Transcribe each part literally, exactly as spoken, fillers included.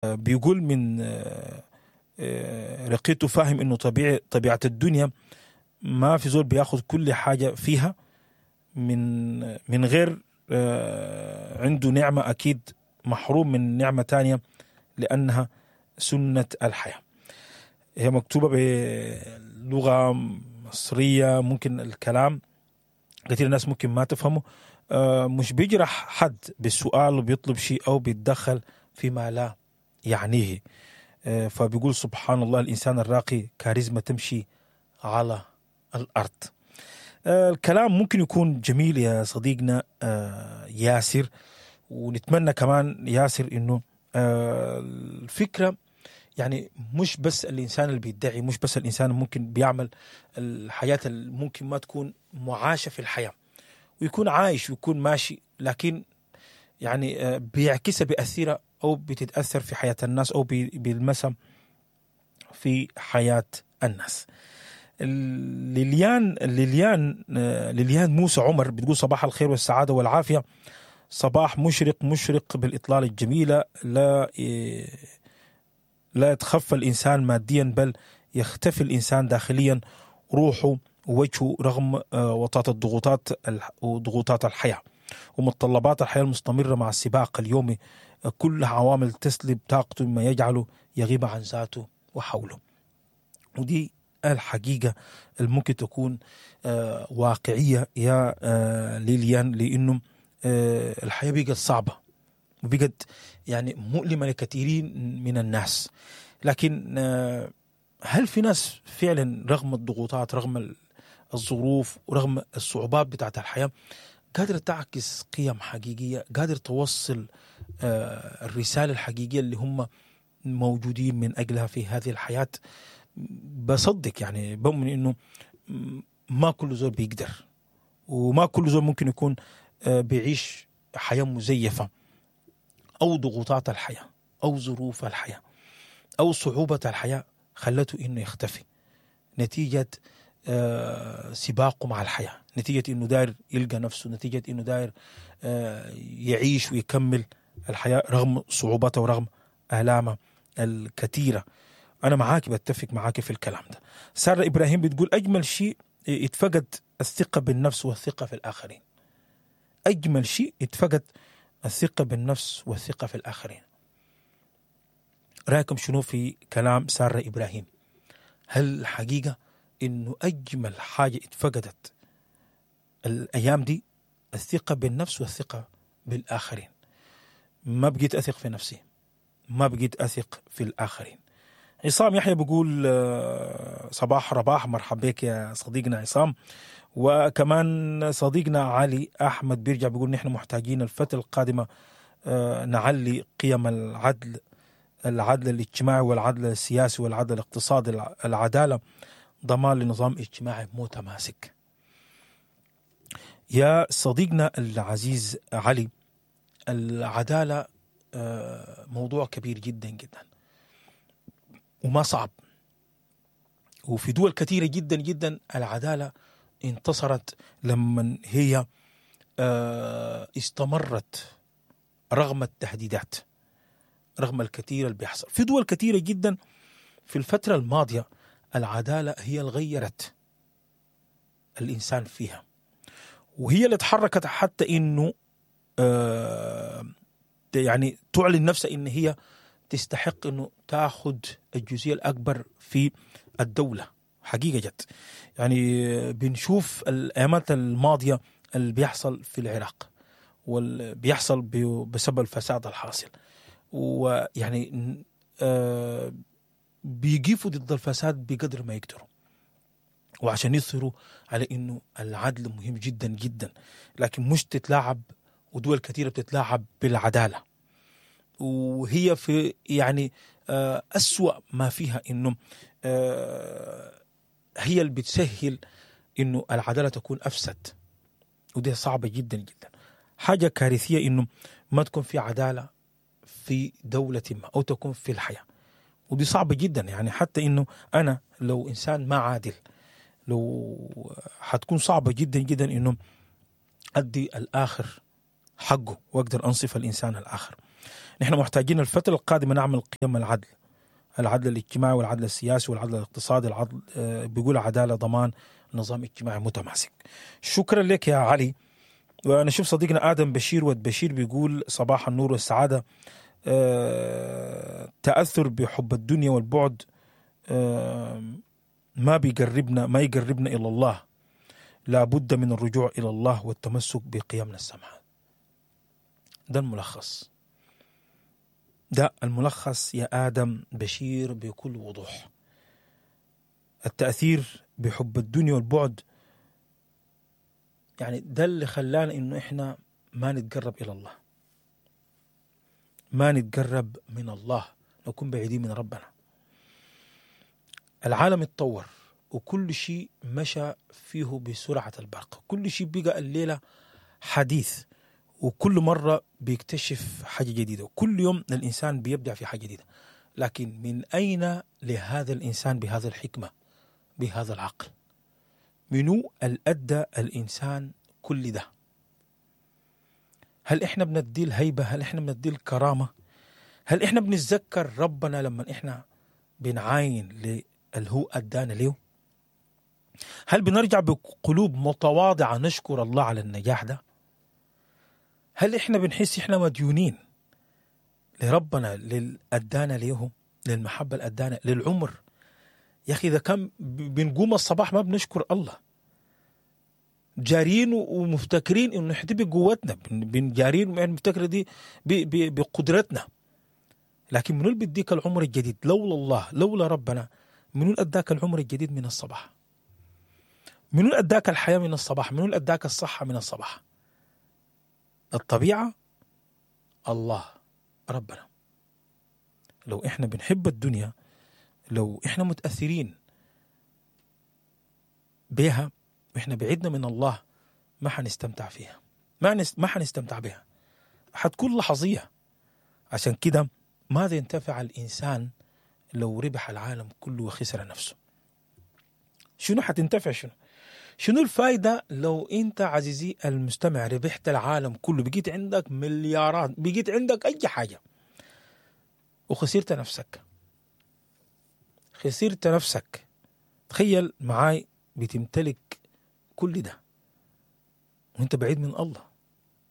بيقول من رقيته فاهم انه طبيعي طبيعة الدنيا ما في زول بياخد كل حاجة فيها من من غير عنده نعمه، اكيد محروم من نعمه تانية لانها سنة الحياة. هي مكتوبة بلغه مصرية، ممكن الكلام كثير الناس ممكن ما تفهمه. مش بيجرح حد بالسؤال وبيطلب شيء او بيتدخل فيما لا يعنيه. فبيقول سبحان الله، الانسان الراقي كاريزما تمشي على الارض. الكلام ممكن يكون جميل يا صديقنا ياسر، ونتمنى كمان ياسر انه الفكرة يعني مش بس الانسان اللي بيدعي، مش بس الانسان ممكن بيعمل الحياة اللي ممكن ما تكون معاشه في الحياة ويكون عايش ويكون ماشي، لكن يعني بيعكسها بيأثرها او بتتاثر في حياة الناس او بيلمسها في حياة الناس. ليليان ليليان ليليان موسى عمر بتقول صباح الخير والسعادة والعافية، صباح مشرق مشرق بالاطلاله الجميلة، لا لا يتخفى الانسان ماديا بل يختفي الانسان داخليا، روحه ووجهه رغم وطاة الضغوطات وضغوطات الحياة ومتطلبات الحياة المستمرة مع السباق اليومي، كلها عوامل تسلب طاقته مما يجعله يغيب عن ذاته وحوله. ودي الحقيقة اللي ممكن تكون واقعية يا ليليان، لأنه الحياة بقت صعبة وبقت يعني مؤلمة لكثيرين من الناس، لكن هل في ناس فعلا رغم الضغوطات، رغم الظروف، ورغم الصعوبات بتاعت الحياة قادرة تعكس قيم حقيقية، قادرة توصل الرسالة الحقيقية اللي هم موجودين من أجلها في هذه الحياة؟ بصدق يعني بؤمن إنه ما كل زول بيقدر، وما كل زول ممكن يكون بيعيش حياة مزيفة أو ضغوطات الحياة أو ظروف الحياة أو صعوبة الحياة خلته إنه يختفي نتيجة سباقه مع الحياة، نتيجة إنه داير يلقى نفسه، نتيجة إنه داير يعيش ويكمل الحياة رغم صعوباتها ورغم آلامها الكثيرة. أنا معاك، بتفق معاك في الكلام ده. سارة إبراهيم بتقول أجمل شيء اتفقد الثقة بالنفس والثقة في الآخرين. أجمل شيء اتفقد الثقة بالنفس والثقة في الآخرين. رأيكم شنو في كلام سارة إبراهيم؟ هل الحقيقة إنه أجمل حاجة اتفقدت الأيام دي الثقة بالنفس والثقة بالآخرين؟ ما بقيت أثق في نفسي، ما بقيت أثق في الآخرين. عصام يحيى بيقول صباح رباح، مرحبا بك يا صديقنا عصام. وكمان صديقنا علي أحمد بيرجع بيقول نحن محتاجين الفترة القادمة نعلي قيم العدل، العدل الاجتماعي والعدل السياسي والعدل الاقتصادي، العدالة ضمان لنظام اجتماعي متماسك. يا صديقنا العزيز علي، العدالة موضوع كبير جدا جدا وما صعب، وفي دول كثيرة جدا جدا العدالة انتصرت لما هي استمرت رغم التهديدات، رغم الكثير اللي بيحصل في دول كثيرة جدا في الفترة الماضية. العدالة هي اللي غيرت الإنسان فيها، وهي اللي تحركت حتى إنه يعني تعلن نفسها إن هي تستحق إنه تأخذ الجزئية الأكبر في الدولة. حقيقة جت يعني بنشوف الأيامات الماضية اللي بيحصل في العراق واللي بيحصل بسبب الفساد الحاصل، ويعني آه بيقفوا ضد الفساد بقدر ما يقدروا، وعشان يصروا على إنه العدل مهم جدا جدا، لكن مش تتلاعب، ودول كثيرة بتتلاعب بالعدالة، وهي في يعني أسوأ ما فيها إنه هي اللي بتسهل إنه العدالة تكون أفسد، ودي صعبة جدا جدا. حاجة كارثية إنه ما تكون في عدالة في دولة ما أو تكون في الحياة، ودي صعبة جدا. يعني حتى إنه أنا لو إنسان ما عادل، لو حتكون صعبة جدا جدا إنه أدي الآخر حقه وأقدر أنصف الإنسان الآخر. نحن محتاجين الفترة القادمة نعمل قيم العدل، العدل الاجتماعي والعدل السياسي والعدل الاقتصادي، العدل آه، بيقول عدالة ضمان نظام اجتماعي متماسك. شكرا لك يا علي. ونشوف صديقنا آدم بشير ود بشير بيقول صباح النور والسعادة. آه، تأثر بحب الدنيا والبعد آه، ما بيقربنا ما يقربنا إلى الله، لابد من الرجوع إلى الله والتمسك بقيمنا السمحة. ده الملخص، ده الملخص يا آدم بشير بكل وضوح. التأثير بحب الدنيا والبعد يعني ده اللي خلانا إنه إحنا ما نتقرب إلى الله، ما نتقرب من الله، نكون بعيدين من ربنا. العالم اتطور وكل شيء مشى فيه بسرعة البرق، كل شيء بقى الليلة حديث، وكل مرة بيكتشف حاجة جديدة، وكل يوم الإنسان بيبدع في حاجة جديدة. لكن من أين لهذا الإنسان بهذا الحكمة، بهذا العقل؟ منو الأدى الإنسان كل ده؟ هل إحنا بندي الهيبة؟ هل إحنا بندي الكرامة؟ هل إحنا بنتذكر ربنا لما إحنا بنعاين للي هو أدانا ليه؟ هل بنرجع بقلوب متواضعة نشكر الله على النجاح ده؟ هل إحنا بنحس إحنا مديونين لربنا، للأدانا ليه، للمحبة الأدانا، للعمر؟ يا أخي إذا كان بنقوم الصباح ما بنشكر الله، جارين ومفتكرين إنه إحنا بقوتنا، بنجارين ومفتكر دي بقدرتنا، لكن منو اللي بيديك العمر الجديد؟ لولا الله، لولا ربنا، منو اللي أداك العمر الجديد من الصباح؟ منو اللي أداك الحياة من الصباح؟ منو اللي أداك الصحة من الصباح؟ الطبيعة، الله، ربنا. لو إحنا بنحب الدنيا، لو إحنا متأثرين بها وإحنا بعيدنا من الله، ما حنستمتع فيها، ما ما حنستمتع بها، حتكون لحظية. عشان كده ماذا ينتفع الإنسان لو ربح العالم كله وخسر نفسه؟ شنو حتنتفع؟ شنو شنو الفايدة لو أنت عزيزي المستمع ربحت العالم كله، بقيت عندك مليارات، بقيت عندك أي حاجة، وخسرت نفسك؟ خسرت نفسك. تخيل معاي بتمتلك كل ده وانت بعيد من الله،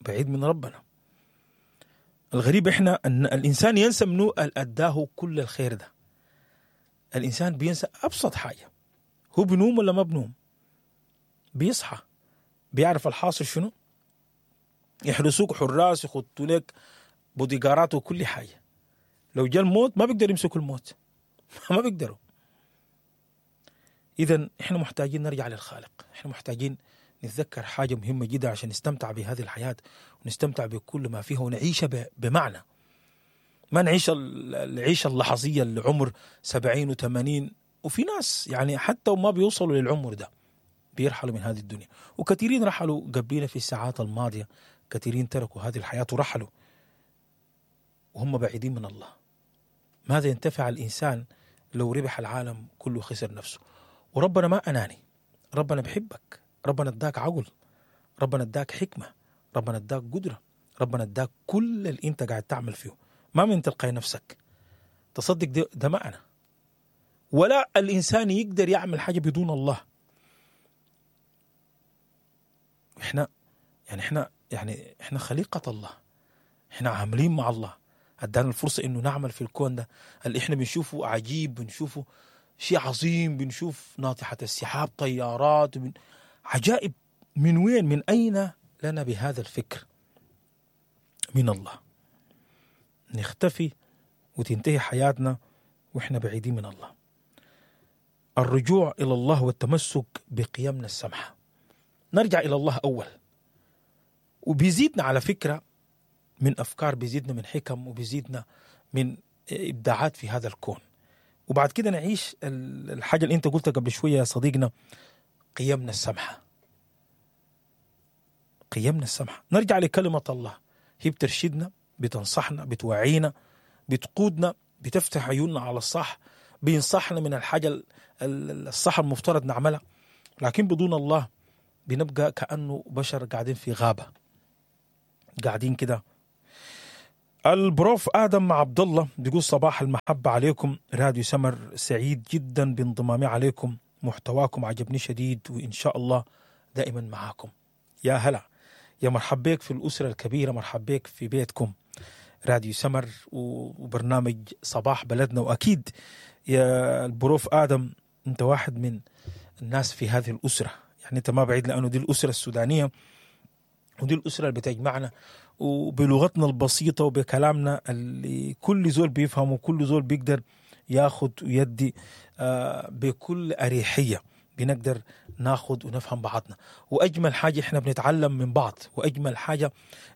بعيد من ربنا. الغريب احنا ان الانسان ينسى منو اللي اداه كل الخير ده. الانسان بينسى ابسط حاجة، هو بنوم ولا ما بنوم؟ بيصحى بيعرف الحاصل شنو، يحرسوك حراس، يخطوا لك بوديجارات وكل حاجة. لو جاء الموت ما بيقدر يمسكوا الموت، ما بيقدروا. إذا إحنا محتاجين نرجع للخالق، إحنا محتاجين نتذكر حاجة مهمة جدا عشان نستمتع بهذه الحياة ونستمتع بكل ما فيها ونعيشها بمعنى. ما نعيش العيشة اللحظية العمر سبعين وثمانين، وفي ناس يعني حتى وما بيوصلوا للعمر ده بيرحلوا من هذه الدنيا، وكثيرين رحلوا قبلنا في الساعات الماضية، كثيرين تركوا هذه الحياة ورحلوا وهم بعيدين من الله. ماذا ينتفع الإنسان لو ربح العالم كله خسر نفسه؟ وربنا ما أناني، ربنا بحبك، ربنا اداك عقل، ربنا اداك حكمة، ربنا اداك قدرة، ربنا اداك كل اللي انت قاعد تعمل فيه، ما من تلقي نفسك. تصدق ده, ده ما أنا ولا الإنسان يقدر يعمل حاجة بدون الله. احنا يعني احنا يعني احنا خليقة الله، احنا عاملين مع الله، ادانا الفرصة انه نعمل في الكون ده اللي احنا بنشوفه عجيب، بنشوفه شيء عظيم، بنشوف ناطحة السحاب، طيارات، بن... عجائب. من وين، من أين لنا بهذا الفكر؟ من الله. نختفي وتنتهي حياتنا وإحنا بعيدين من الله. الرجوع إلى الله والتمسك بقيمنا السمحة. نرجع إلى الله أول، وبيزيدنا على فكرة من أفكار، بيزيدنا من حكم، وبيزيدنا من إبداعات في هذا الكون. وبعد كده نعيش الحاجة اللي أنت قلتها قبل شوية يا صديقنا، قيمنا السمحة. قيمنا السمحة، نرجع لكلمة الله، هي بترشدنا، بتنصحنا، بتوعينا، بتقودنا، بتفتح عيوننا على الصح، بينصحنا من الحاجة الصح المفترض نعملها. لكن بدون الله بنبقى كأنه بشر قاعدين في غابة، قاعدين كده. البروف ادم عبد الله بيقول صباح المحبة عليكم راديو سمر، سعيد جدا بانضمامي عليكم، محتواكم عجبني شديد وان شاء الله دائما معاكم. يا هلا، يا مرحب بك في الاسرة الكبيرة، مرحب بك في بيتكم راديو سمر وبرنامج صباح بلدنا. واكيد يا البروف ادم انت واحد من الناس في هذه الاسرة، يعني انت ما بعيد، لانه دي الاسرة السودانية ودي الاسرة اللي بتجمعنا وبلغتنا البسيطة وبكلامنا اللي كل زول بيفهمه وكل زول بيقدر ياخد ويدي آه بكل اريحية، بنقدر ناخد ونفهم بعضنا. واجمل حاجة احنا بنتعلم من بعض، واجمل حاجة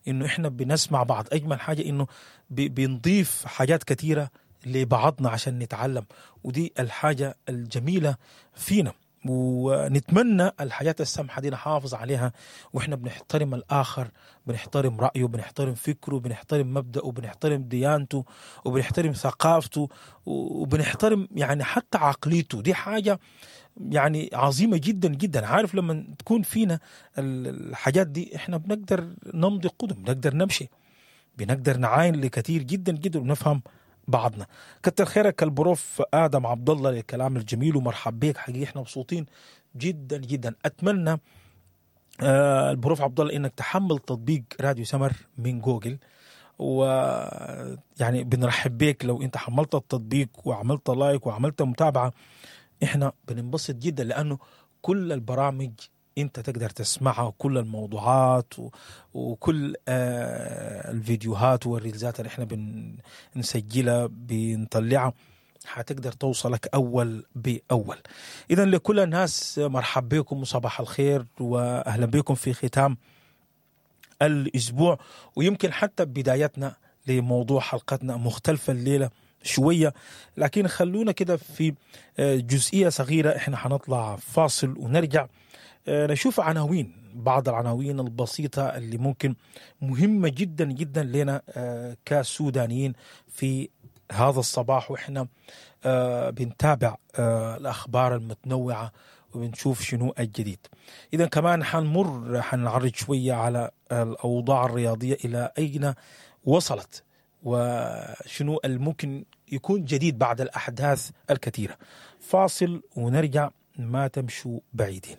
انه احنا بنسمع بعض، اجمل حاجة انه بنضيف حاجات كثيرة لبعضنا عشان نتعلم، ودي الحاجة الجميلة فينا. ونتمنى الحاجات السمحة دي نحافظ عليها، واحنا بنحترم الاخر، بنحترم رايه، بنحترم فكرة، بنحترم مبدأه، بنحترم ديانته، وبنحترم ثقافته، وبنحترم يعني حتى عقليته. دي حاجة يعني عظيمة جدا جدا. عارف لما تكون فينا الحاجات دي احنا بنقدر نمضي قدم، بنقدر نمشي، بنقدر نعاين لكثير جدا جدا ونفهم بعضنا. كتر خيرك البروف ادم عبد الله للكلام الجميل، ومرحب بك حقيقي، احنا مبسوطين جدا جدا. اتمنى آه البروف عبد الله انك تحمل تطبيق راديو سمر من جوجل، ويعني بنرحب بك لو انت حملت التطبيق وعملت like وعملت متابعه، احنا بننبسط جدا لانه كل البرامج انت تقدر تسمعها، وكل الموضوعات و... وكل آه الفيديوهات والريلزات اللي احنا بنسجلها بنطلعها حتقدر توصلك اول باول. اذا لكل الناس مرحب بكم وصباح الخير واهلا بكم في ختام الاسبوع، ويمكن حتى بدايتنا لموضوع حلقتنا مختلفة الليلة شوية، لكن خلونا كده في جزئية صغيرة. احنا حنطلع فاصل ونرجع نشوف عناوين، بعض العناوين البسيطة اللي ممكن مهمة جدا جدا لنا كسودانيين في هذا الصباح، وإحنا بنتابع الأخبار المتنوعة وبنشوف شنو الجديد. إذا كمان حنمر حنعرج شوية على الأوضاع الرياضية إلى أين وصلت وشنو الممكن يكون جديد بعد الأحداث الكثيرة. فاصل ونرجع، ما تمشوا بعيدين.